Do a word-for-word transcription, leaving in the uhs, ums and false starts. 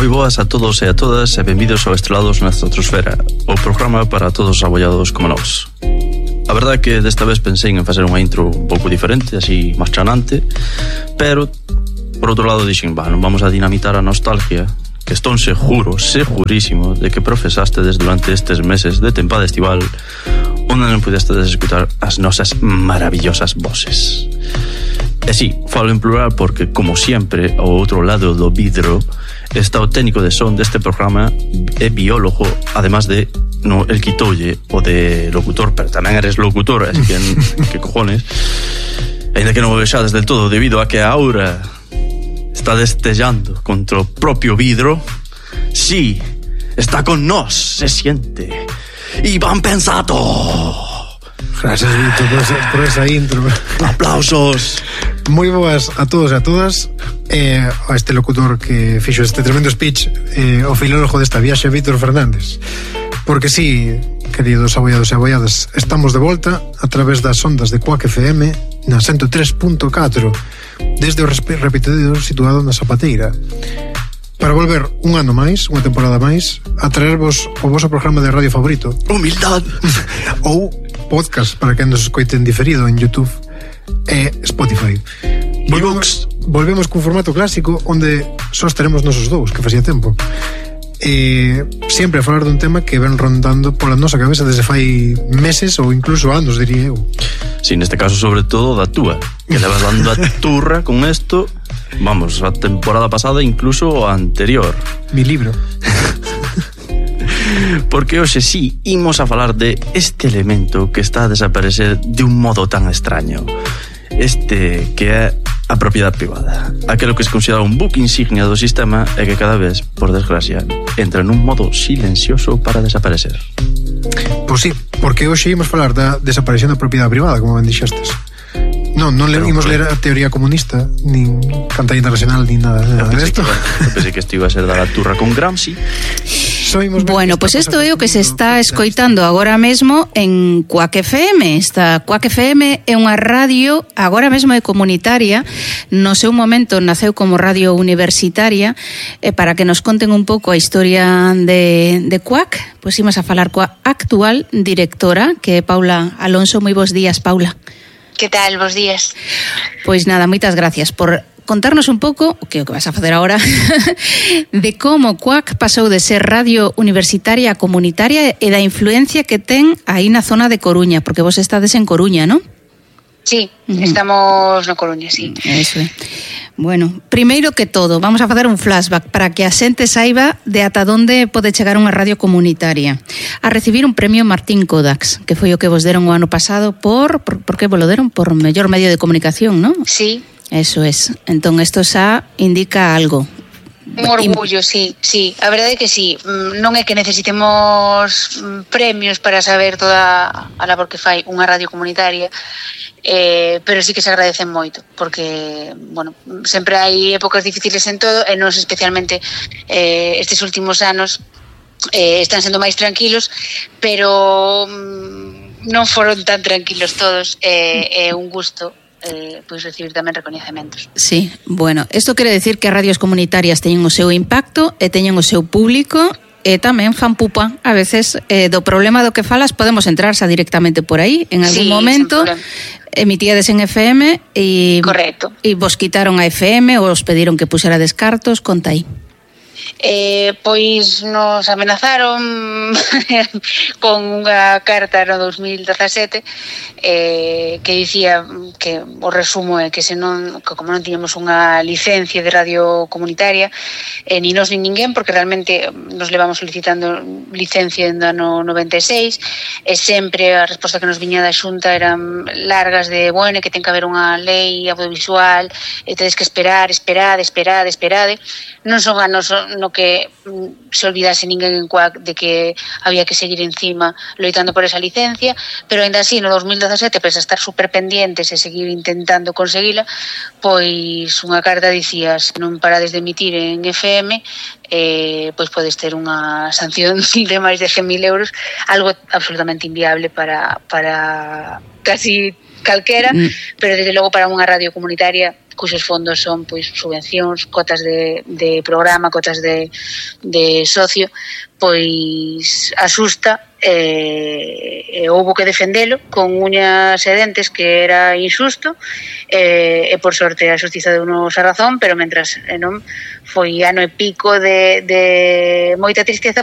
Moi boas a todos e a todas e benvidos ao Estrelados na Estratosfera, o programa para todos os abollados como nós. A verdade é que desta vez pensei en facer unha intro un pouco diferente, así máis chanante, pero por outro lado dixen, va, non vamos a dinamitar a nostalgia, que estou seguro, segurísimo de que profesastes durante estes meses de tempada estival onde non pudestes escutar as nosas maravillosas voces. E si, falo en plural porque, como sempre, ao outro lado do vidro está o técnico de son deste programa e biólogo, además de no, el quitoulle o de locutor, pero tamén eres locutor, así que, que cojones, ainda que non o vexades del todo debido a que a aura está destellando contra o propio vidro. Sí, está con nós, se siente Iván Pensato. Gracias, Víctor, por esa, por esa intro. Aplausos. Moi boas a todos e a todas, eh, a este locutor que fixo este tremendo speech, eh, o filólogo desta viaxe, Víctor Fernández. Porque sí, queridos abollados e abolladas, estamos de volta a través das ondas de Quack F M na ciento tres punto catro desde o repetidor situado na Zapateira, para volver un ano máis, unha temporada máis, a traervos o vosso programa de radio favorito, Humildad, ou podcast para que nos escoiten diferido en YouTube e Spotify. Volvemos, volvemos cun formato clásico onde só estaremos nosos dous, que facía tempo, e sempre a falar dun tema que ven rondando pola nosa cabeza desde fai meses ou incluso anos, diría eu. Si, sí, neste caso sobre todo da túa, que levas dando a turra con esto, vamos, a temporada pasada, incluso a anterior. Mi libro. Porque hoxe sí, imos a falar de este elemento que está a desaparecer de un modo tan extraño. Este que é a propiedade privada, aquelo que se considera un buque insignia do sistema e que cada vez, por desgracia, entra nun modo silencioso para desaparecer. Pois sí, porque hoxe imos falar da desaparición da propiedade privada, como ben dixestes. Non, non leímos ler a teoría comunista, nin Cantar Internacional, nin nada, nada de esto. Eu pensei que isto iba a ser dar a turra con Gramsci. Bueno, pois pues isto é o que se está escoitando agora mesmo en Quack F M. Esta Quack F M é unha radio, agora mesmo é comunitaria, no seu momento naceu como radio universitaria, e para que nos conten un pouco a historia de, de Quack, pois pues imos a falar coa actual directora, que é Paula Alonso. Moi bons días, Paula. Que tal, bons días? Pois nada, moitas gracias por contarnos un pouco, o que o que vas a facer agora, de como Quack pasou de ser radio universitaria a comunitaria e da influencia que ten aí na zona de Coruña, porque vos estades en Coruña, non? Sí, uh-huh. Estamos na Coruña, sí. Eso é. Bueno, primeiro que todo, vamos a facer un flashback para que a xente saiba de ata onde pode chegar unha radio comunitaria. A recibir un premio Martín Kodax, que foi o que vos deron o ano pasado por... Por, por que vos lo deron? Por mellor medio de comunicación, non? Sí. Eso es. Entón, isto xa indica algo. Un orgullo, sí, sí. A verdade é que sí. Non é que necesitemos premios para saber toda a labor que fai unha radio comunitaria, eh, pero sí que se agradecen moito, porque, bueno, sempre hai épocas difíciles en todo, e nos especialmente eh, estes últimos anos eh, están sendo máis tranquilos, pero mm, non foron tan tranquilos todos, e eh, é un gusto Eh, pois recibir tamén recoñecementos. Sí, bueno, isto quere decir que as radios comunitarias teñen o seu impacto e teñen o seu público e tamén fan pupa. A veces eh, do problema do que falas podemos entrar xa directamente por aí en algún sí, momento. Emitíades en F M e correcto. E vos quitaron a F M ou os pediron que puxera descartos, conta aí. Eh, pois nos amenazaron con unha carta no dos mil dezasete eh, que dicía que o resumo é que se non, que como non tiñamos unha licencia de radio comunitaria, eh, ni nos ni ninguén, porque realmente nos levamos solicitando licencia no ano noventa e seis, e sempre a resposta que nos viña da Xunta eran largas de, bueno, que ten que haber unha lei audiovisual, e tedes que esperar, esperar, esperar, esperar. Non son anos no que se olvidase ninguén en Quack de que había que seguir encima loitando por esa licencia, pero ainda así no dos mil dezasete, pese a estar super pendientes e seguir intentando conseguila, pois unha carta dicía: se non parades de emitir en F M, eh, pois podes ter unha sanción de máis de cen mil euros, algo absolutamente inviable para, para casi calquera, mm. pero desde logo para unha radio comunitaria cuxos fondos son pois subvencións, cotas de, de programa, cotas de, de socio, pois asusta e, e houbo que defendelo con uñas e dentes que era injusto e, e por sorte a xustiza deu-nos a razón, pero mentras e non foi ano e pico de, de moita tristeza